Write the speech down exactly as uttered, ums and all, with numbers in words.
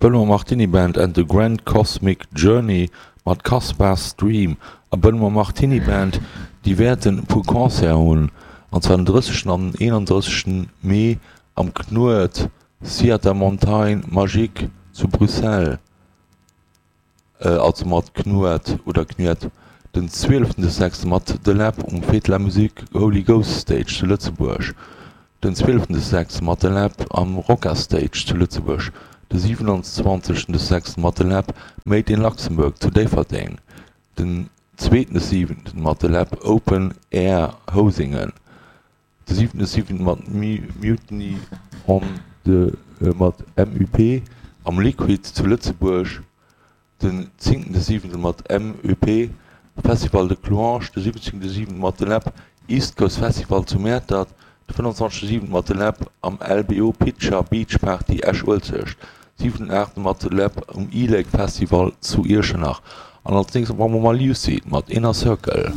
Benoît Martiny Band and the Grand Cosmic Journey mat Caspar's Dream. A Benoît Martiny Band, déi wäerten e puer Concerten hunn, an zwar den drëssegsten an den eenandrëssegsten Mee am Knuet Theater Montagne Magique zu Bruxelles. Also mat Knuet oder Knuet, den zwieleften des sechste mat The Läb um Fête de la Musique Holy Ghost Stage zu Lëtzebuerg, den zwieleften des sechste mat The Läb am Rocca Stage zu Lëtzebuerg, de siwenanzwanzegsten des sechste mat The Läb Made in Luxembourg zu Déifferdeng, den zweeten des siwenten mat The Läb Open Air Housengen, de siwenten des siwenten mat Mutiny on the mat M U P am Liquid zu Lëtzebuerg, den zéngten siwenten mat M U P Festival de Clouange, de siwwenzéngten siwenten mat The Läb East Coast Festival zu Mäertert, de fënnwanzwanzegste siwenten mat The Läb am L B O Picture Beach Party Esch-Uelzecht, siwenten aachten mat The Läb um E-Lake Festival zu Iechternach. An als nächstes maache mer Lucid mat Inner Circle.